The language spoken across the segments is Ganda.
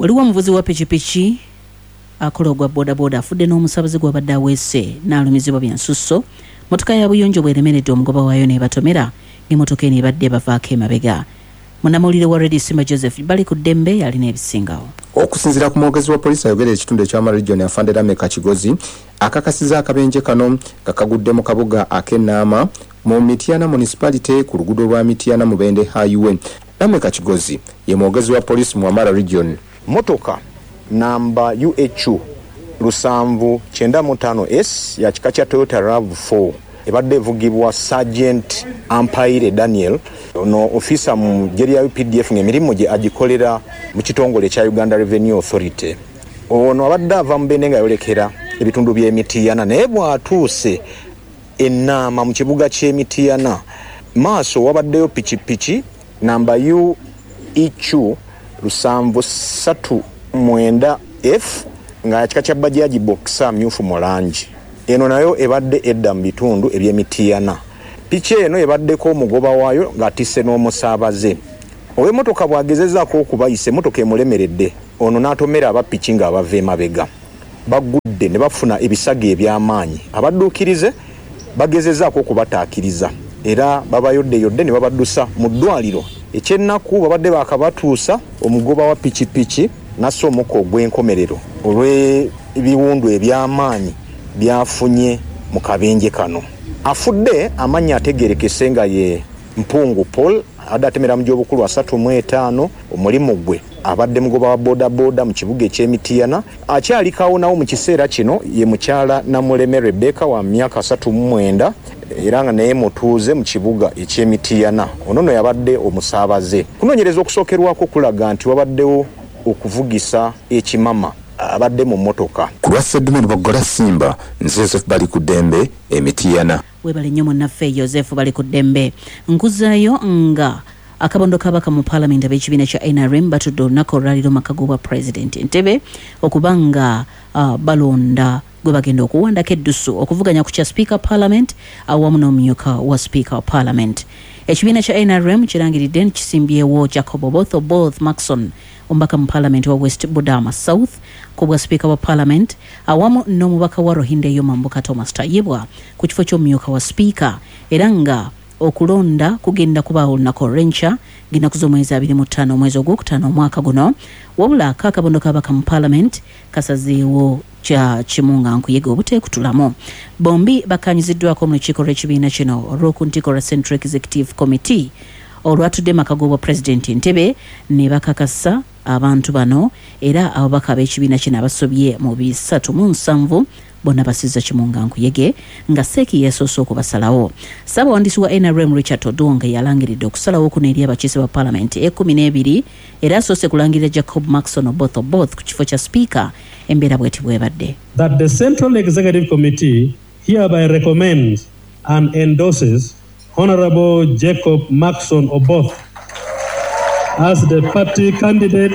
Waliwo omuvuzi wa pikipiki akola ogwa bodaboda afudde n'omusaabaze gw'abadde aweese n'alumizibwa bya nsusso, mmotoka ya buyonjo bw'eremeredde omugoba waayo n'ebatomera ng'emmotoka eno ebadde ebavaako emabega. Munnamawulire wa Radio Simba Joseph Balikuddembe y'alina ebisingawo. Okusinzira ku mwogezi wa poliisi ayogerera ekitundu ekya Wamala Region Afande Lameka Kigozi akakasiza akabenje kano nga kagudde mu kabuga ake Naama mu Mityana Municipality ku luguudo lwa Mityana Mubende Highway. Lameka Kigozi ye mwogezi wa poliisi mu Wamala Region. Mmotoka namba UHU 795 S ya kika kya Toyota Rav Four ebadde evugibwa Sergeant Ampaire Daniel. Ono ofiisa mu ggye lya updf ng'emirimu gye agikolera mu kitongole ekya Uganda Revenue Authority. Ono abadde ava Mubende ng'ayolekera ebitundu by'e Mityana naye bw'atuuse e Naama mu kibuga ky'e Mityana maaso wabaddeyo pikipiki namba UEQ 739 F nga ya kika kya Bajaji Boxer myufu mu langi. Eno nayo ebadde edda mu bitundu eby'e Mityana. Piki eno ebaddeko omugoba waayo ng'atisse n'omusaabaze. Ow'emmotoka bw'agezezzaako okubayisa emmotoka emulemeredde ono n'atomera aba piki ng'abava emabega. Bagudde ne bafuna ebisago eby'amaanyi. Abadduukirize bagezezaako okubataakiriza era babayoddeyodde ne babaddusa mu ddwaaliro. Eky'ennaku babadde baakabatuusa, omugoba wa pikipiki n'assa omukka ogw'enkomerero olw'ebiwundu eby'amaanyi by'afunye mu kabenje kano. Afudde amannya ategeerekese nga ye Mpungu Paul abadde atemera mu gy'obukulu 35, omulimu gwe abadde mugoba wa bodaboda mu kibuga eky'e Mityana. Akyali kawonawo mu kiseera kino ye mukyala Namuleme Rebecca wa myaka 39 era nga naye mutuuze mu kibuga eky'e Mityana. Ono no yabadde omusaabaze. Okunoonyereza okusookerwako kulaga nti wabaddewo okuvugisa ekimama abadde mu mmotoka. Ku lwa Sseddume Luboggola Simba, nze Joseph Balikuddembe e Mityana. Webale nnyo munnaffe Yozefu Balikuddembe. Nkuzaayo nga akabondo k'ababaka mu Palamenti ab'ekibiina kya nrm batudde olunaku olwaleero mu maka g'obwa Pulezidenti Entebbe okuba nga balonda gwebagenda okuwandako eddusu okuvuganya ku kya Sipiika wa Palamenti awamu n'omumyuka wa Sipiika wa Palamenti. Ekibiina kya nrm kirangiridde nti kisimbyewo Jacob Oboth Oboth Markson omubaka mu Palamenti owa West Budama South ku bwa Sipiika wa Palamenti awamu n'omubaka wa Ruhinda ey'omambuka Thomas Tayebwa ku kifo ky'omumyuka wa Sipiika era nga okulonda kugenda kubaawo olunaku olw'enkya ng'ennaku z'omwezi 25 omwezi ogwokutaano omwaka guno. Wabula ko akabondo k'ababaka mu Palamenti kasazeewo kya kimu nga nkuyege obuteekutulamu. Bombi bakkaanyiziddwako mu lukiiko lw'ekibiina kino olw'oku ntikko olwa Central Executive Committee olwatudde maka g'obwa Pulezidenti Entebbe ne bakakasa abantu bano era ababaka ab'ekibiina kino abasobye mu 370 bonna basizza kimu nga nkuyege nga Seeki yeesoose okubasalawo. Ssaabawandiisi wa nrm Richard Todwong yalangiridde okusalawo kuno eri abakiise ba palamenti ekkumi n'ebiri era asoose kulangirira Jacob Markson Oboth Oboth ku kifo kya sipiika embeera bweti bwebadde. That the Central Executive Committee hereby recommends and endorses Honourable Jacob Markson Oboth as the party candidate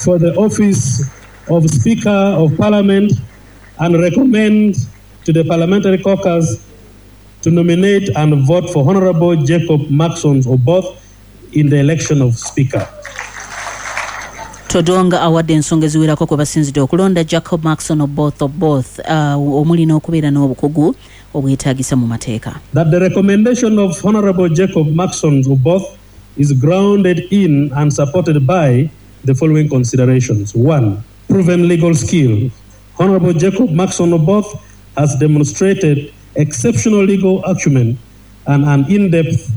for the office of Speaker of Parliament and recommend to the Parliamentary Caucus to nominate and vote for Honourable Jacob Markson Oboth in the election of Speaker. Todwong awadde ensonga eziwerako kwe basinzidde okulonda Jacob Markson Oboth Oboth omuli n'okubeera n'obukugu obwetaagisa mu mateeka. That the recommendation of Honourable Jacob Markson Oboth is grounded in and supported by the following considerations, One, proven legal skill. Honourable Jacob Markson Oboth has demonstrated exceptional legal acumen and an in-depth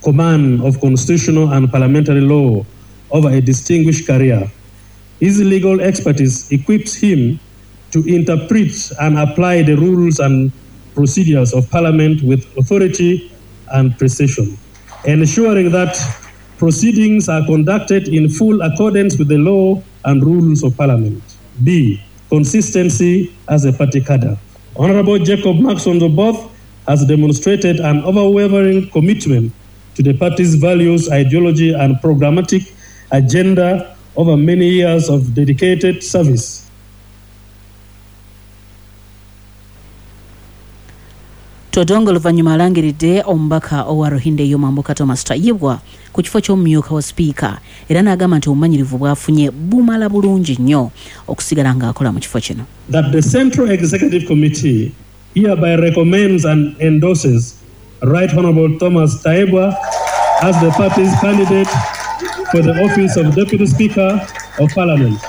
command of constitutional and parliamentary law over a distinguished career. His legal expertise equips him to interpret and apply the rules and procedures of parliament with authority and precision, ensuring that proceedings are conducted in full accordance with the law and rules of parliament. B. Consistency as a party cadre. Honorable Jacob Markson Oboth has demonstrated an unwavering commitment to the party's values, ideology and programmatic agenda over many years of dedicated service. Todwong oluvannyuma alangiridde omubaka owa Ruhinde ey'omambuka Thomas Tayebwa ku kifo ky'omumyuka wa sipiika era n'agamba nti obumanyirivu bw'afunye bumala bulungi nnyo okusigala ng'akola mu kifo kino. That the Central Executive Committee hereby recommends and endorses Right Honourable Thomas Tayebwa as the party's candidate for the office of Deputy Speaker of Parliament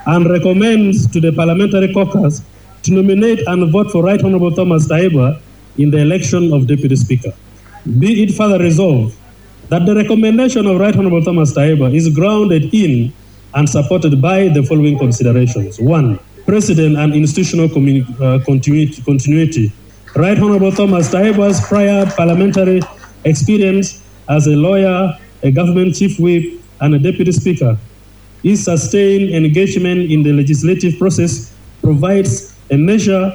and recommends to the Parliamentary Caucus to nominate and vote for Right Honourable Thomas Tayebwa in the election of Deputy Speaker. Be it further resolved that the recommendation of Right Honourable Thomas Tayebwa is grounded in and supported by the following considerations. 1. Precedent and institutional continuity. Right Honourable Thomas Tayebwa's prior parliamentary experience as a lawyer, a government chief whip, and a deputy speaker. His sustained engagement in the legislative process provides a measure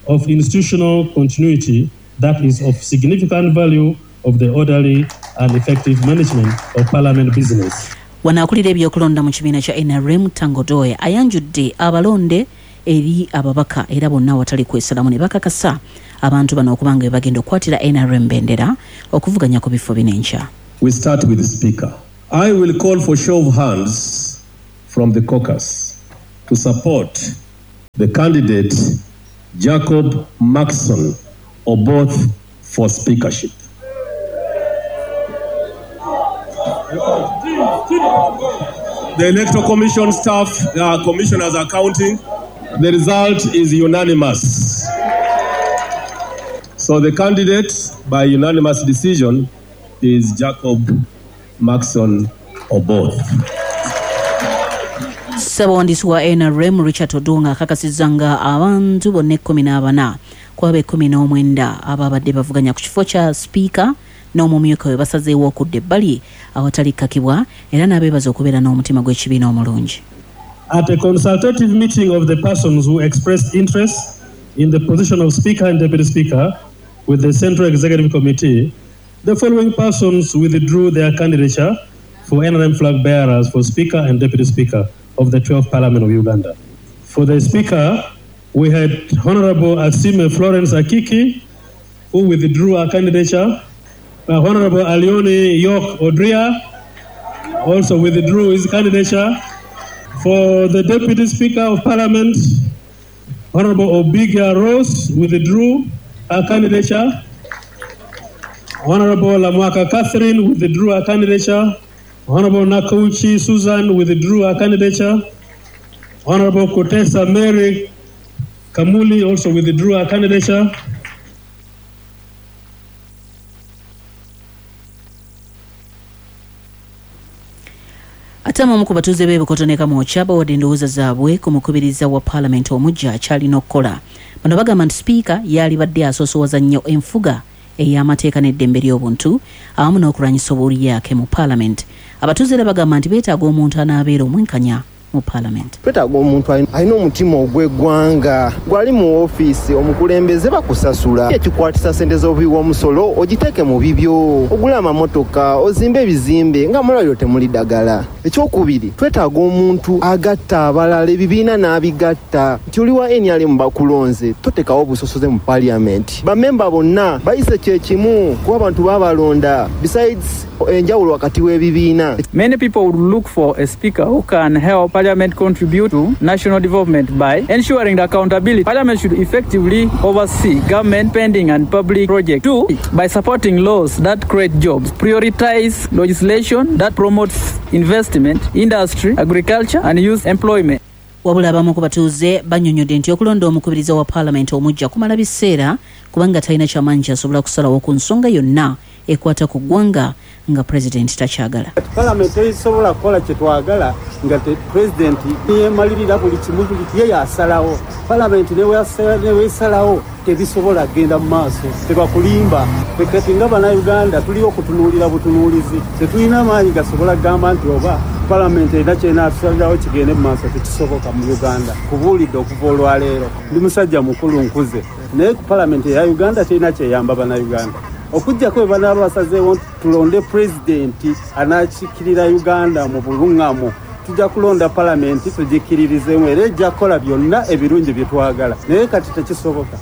of institutional continuity that is of significant value of the orderly and effective management of parliament business. Wano akulira ebyokulonda mu kibiina kya nrm Tanga Odoi ayanjudde abalonde eri ababaka era bonna awatali kwesalamu ne bakakasa abantu bano okuba nga be bagenda okukwatira nrm bendera okuvuganya ku bifo bino enkya. We start with the Speaker. I will call for show of hands from the caucus to support the candidate Jacob Maxon Oboth for speakership. The Electoral Commission staff, the commissioners are counting. The result is unanimous. So the candidate by unanimous decision is Jacob Maxon Oboth. Ssabawandiisi wa NRM Richard Odong akakasizza nga abantu bonna ekkumi n'abana ku abo ekkumi n'omwenda ababadde bavuganya ku kifo kya sipiika n'omumyuka we basazeewo okudda ebbali awatali kkakibwa era n'abeebaza okubeera n'omutima gw'ekibiina omulungi. At a consultative meeting of the persons who expressed interest in the position of Speaker and Deputy Speaker with the Central Executive Committee, the following persons withdrew their candidature for NRM flag bearers for Speaker and Deputy Speaker of the 12th Parliament of Uganda. For the Speaker, we had Honorable Asime Florence Akiki, who withdrew her candidature. Honorable Alioni York Odria also withdrew his candidature. For the Deputy Speaker of Parliament, Honorable Obiga Rose withdrew her candidature. Honorable Lamwaka Catherine withdrew her candidature. Honorable Nakauchi Susan withdrew her candidature. Honorable Kutesa Mary Kamuli also withdrew her candidature. Ate abamu ku batuuze b'e Bukoto ne Kamwokya bawadde endowooza zaabwe ku mukubiriza wa Palamenti omuggya ky'alina okukola. Bano bagamba nti sipiika yaalibadde asoosowaza nnyo enfuga ey'amateeka n'eddembe ly'obuntu awamu n'okulwanyisa obulyake mu Palamenti. Abatuuze era bagamba nti beetaaga omuntu anaabeera omwenkanya mu Palamenti. Twetaaga omuntu alina omutima ogw'eggwanga. Gwali mu woofiisi omukulembeze bakusasula, ekikwatisa ssente z'obuwi bw'omusolo ogiteeke mu bibyo, ogule amamotoka, ozimbe ebizimbe nga mulwaliro temuli ddagala. Ekyokubiri, twetaaga omuntu agatta abalala, ebibiina n'abigatta nti oli wa NRM bakulonze, totekawo obusosoze mu Parliament. Bammemba bonna bayise kye kimu kuba abantu babalonda, besides enjawulo wakati w'ebibiina. Many people would look for a speaker who can help Parliament contribute to national development by ensuring the accountability. Parliament should effectively oversee government spending and public projects. 2, by supporting laws that create jobs, prioritize legislation that promotes investment, industry, agriculture and youth employment. Wabula abamu ku batuuze bannyonnyodde nti okulonda omukubiriza wa Palamenti omuggya kumala biseera kubanga talina kyamaanyi ky'asobola kusalawo ku nsonga yonna ekwata ku ggwanga nga Pulezidenti takyagala. Kati Palamenti tesobola kukola kye twagala nga Pulezidenti yeemalirira buli kimu, buli ye y'asalawo. Palamenti ne bw'esalawo tebisobola kugenda mu maaso, tebakulimba. Ffe kati nga Bannayuganda tuli okutunuulira butunuulizi, tetulina maanyi gasobola kugamba nti oba Palamenti erina ky'enaatusalirawo kigende mu maaso, tekisoboka mu Uganda. Kubuulidde okuva olwaleero, ndi musajja mukulu nkuze, naye ku Palamenti eya Uganda terina kyeyamba Bannayuganda. Okuggyako bwe banaaba basazeewo nti tulonde pulezidenti anaakiikirira Uganda mu bulung'amu, tujja kulonda palamenti tugikkiririzeemu era ejja kukola byonna ebirungi bye twagala, naye kati tekisoboka.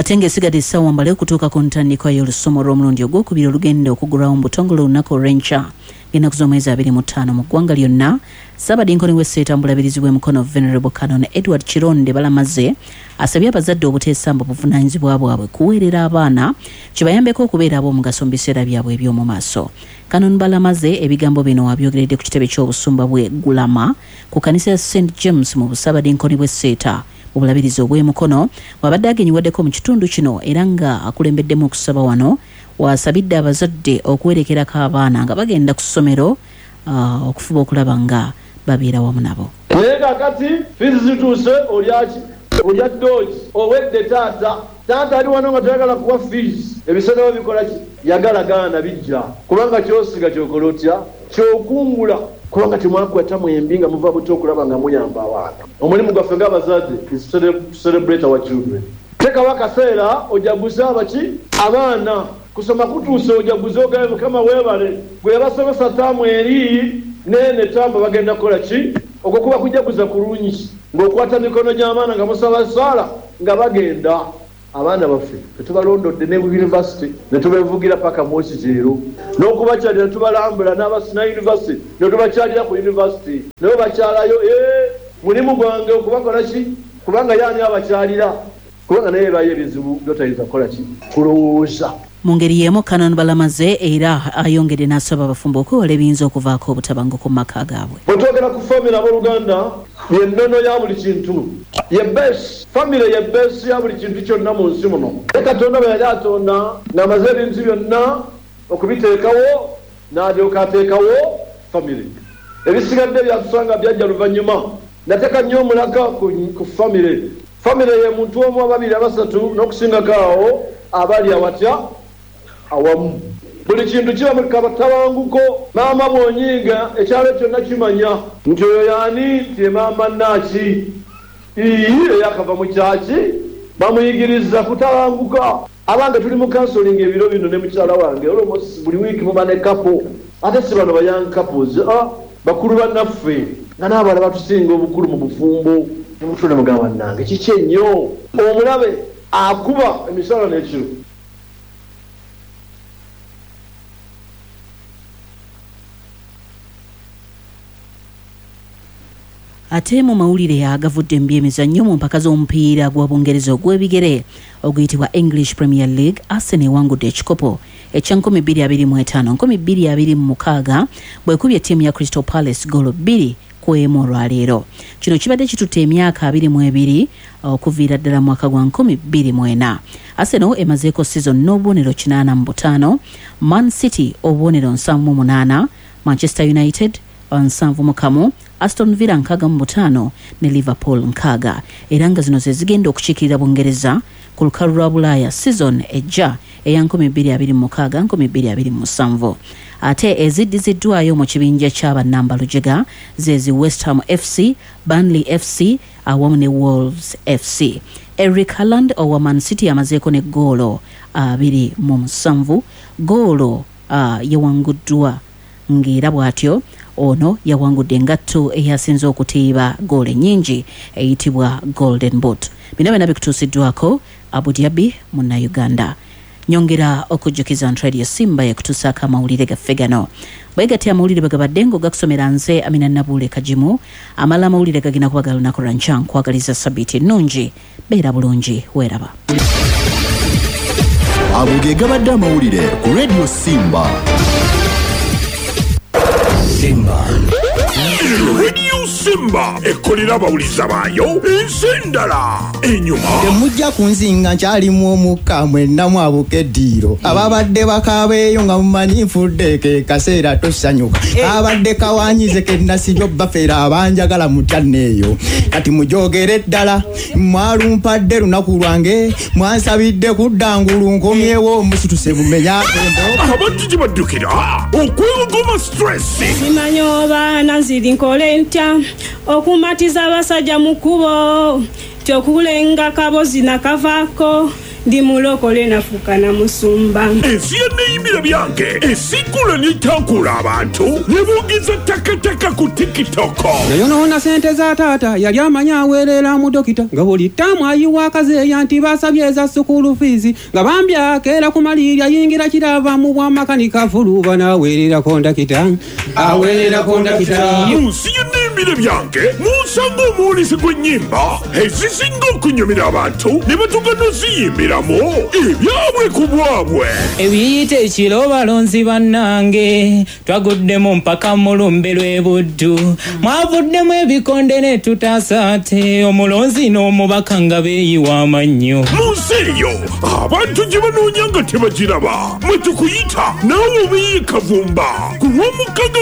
Ate ng'esigadde essaawa mbale okutuuka ku ntandikwa y'olusoma olw'omulundi ogwokubiri olugenda okugulwawo mu butongole olunaku olw'enkya ng'ennaku z'omwezi 25 mu ggwanga lyonna, Ssaabadinkoni w'e Sseeta mu bulabirizi bw'e Mukono Venerable Canon Edward Kironde Balamaze asabye abazadde obuteesamba buvunaanyizibwa bwabwe kuweerera abaana kibayambeko okubeera ab'omugaso mu biseera byabwe eby'omu maaso. Canon Balamaze ebigambo bino abyogeredde ku kitebe ky'obusumba bw'e Gulama ku kkanisa ya St James mu Bussaabadinkoni bw'e Sseeta mu bulabirizi obw'e Mukono bw'abadde agenyiwaddeko mu kitundu kino era nga akulembeddemu okusaba wano w'asabidde abazadde okuwerekerako abaana nga bagenda ku ssomero okufuba okulaba nga babeera wamu nabo. Naye kakati fees zituuse olya ki? Olya doogi owedde taata. Taata ali wano nga toyagala kuwa fees ebiseera byo bikola ki? Yagala gaana bijja kubanga kyosiga kyokola otya? Kyokungula. Kubanga temwakwata mwembi nga muva buto okulaba nga muyamba abaana. Omulimu gwaffe nga abazadde is to celebrate our children. Tekawo akaseera ojaguze abaki? Abaana. Kusoma kutuuse ojaguze ogambe Mukama webale gwe yabasomesa term eri neno eterm bagenda kukola ki? Okwo kuba kujaguza kulungi nga okwata mikono gy'abaana nga musaba esaala nga bagenda. Abaana baffe ffe tubalondodde ne ku University ne tubevugira paka mu Okijeero n'okubakyalira ne tubalambula n'aba Sinai University ne tubakyalira ku University nabo bakyalayo eeh mulimu gwange okubakola ki kubanga ye ani abakyalira kubanga naye ebayo ebizibu byotayinza kukola ki kulowooza. Mu ngeri y'emu Canon Balamaze era ayongedde n'asaba abafumbo okwewala ebiyinza okuvaako obutabanguko mu maka gaabwe. Bwe twogera ku famire abooluganda, ye nnono ya buli kintu. Ye base. Famire ye base ya buli kintu kyonna mu nsi muno. Naye Katonda bwe yali atonda, ng'amaze ebintu byonna okubiteekawo, n'alyoka ateekawo famire. Ebisigadde byatusanga byajja luvannyuma. Nateka nnyo omulaka ku, ku famire. Famire ye muntu omu, ababiri, abasatu, n'okusingako awo, abali awatya? Awamu. Buli kintu kiba mu katabanguko. Maama bw'onyiiga, ekyalo kyonna kimanya. Nti oyo y'ani? Nti ye maama Nnaaki. Ii, Eyakava mu kyaki? Bamuyigiriza kutabanguka. Abange tuli mu counseling ebiro bino ne mukyala wange almost buli week muba ne couple ate si bano ba young couples ah bakulu banaffe nga n'abalala batusinga obukulu mu bufumbo. Nemutula nemugamba banange kiki ennyo. Omulabe akuba emisana n'ekiro. Ate mu mawulire agavudde mu byemizannyo mu mpaka z'omupiira gwa Bungereza ogw'ebigere oguyitibwa English Premier League, Arsenal ewangudde ekikopo ekya 2025, 2026 bw'ekubye ttiimu ya Crystal Palace ggoolo bbiri ku emu olwaleero. Kino kibadde kitutte emyaka 22 okuviira ddala mu mwaka gwa 2004. Arsenal emazeeko sizoni n'obubonero 85, Man City obubonero 78, Manchester United 71, Aston Villa 65 ne Liverpool 60 era nga zino ze zigenda okukiikirira Bungereza ku lukalu lwa Bulaaya sizoni ejja eya 2026, 2027. Ate eziddiziddwayo mu kibinja kya bannambalujega ze zi West Ham FC, Burnley FC awamu ne Wolves FC. Eric Haaland owa Man City amazeeko ne ggoolo 27, ggoolo yawanguddwa ng'era bw'atyo ono yawangudde engatto eyasinze okuteeba ggoolo ennyingi eyitibwa Golden Boot. Bino byonna bikutuusiddwako Abu Dhabi Munnayuganda. Nyongera okujjukiza nti Radio Simba yekutuusaako amawulire gaffe gano. Bwegatyo amawulire bwegabadde ng'ogakusomera nze Amina Nabuule Kagimu. Amala amawulire gagenda kuba ga lunaku lwa nkya. Nkwagaliza sabbiiti ennungi. Beera bulungi weeraba. Ago ge gabadde amawulire ku Radio Simba. Simba. Radio Simba ekolera abawuliza baayo ensi endala enyuma. Temujja kunzinga nkyalimu omukka mwenna mwabuka eddiiro. Ababadde bakaaba eyo nga mumanyi nfudde ke kaseera tosanyuka. Kabadde kawanyize ke nasibye obbafera abanjagala mutya nneeyo. Kati mujogere ddala mwalumpadde lunaku lwange mwansabidde kudda ngulu nkomyewo omusituse bumenya embo. Abantu gye baddukira okwewogoma stress. Simanyi oba nanziri nkole ntya okumatiza abasajja mu kkubo kyokulenga kabozi nakavaako Ndi mulokole nafuuka na musumba. Ensi ya Neyimbira Byange esiikula n'etankula abantu ne boogeza ttakataka ku TikTok. Yayonoona sente za taata, yali amanyi aweerera mu dokita, nga buli ttaamu ayiwa akazeeya nti basabye eza sukulu fiizi, nga bambi akeera ku maliiri ayingira kirava mu bwamakanika fuluba n'aweerera kondakita, aweerera kondakita. Mu nsi ya Neyimbira Byange munsanga omuwulizi gw'ennyimba ezisinga okunyumira abantu ne batuuka n'oziyimbiramu ebyabwe ku bwabwe. Ebiyita ekiro balonzi bannange, twaguddemu mpaka mu lumbe lw'e Buddu, mwavuddemu ebikonde ne tutaasa ate omulonzi n'omubaka nga beeyiwa amannyo. Mu nsi eyo abantu gye banoonya nga tebagiraba, mwe tukuyita naawe obeeyo e Kavumba ku Lwomukaaga.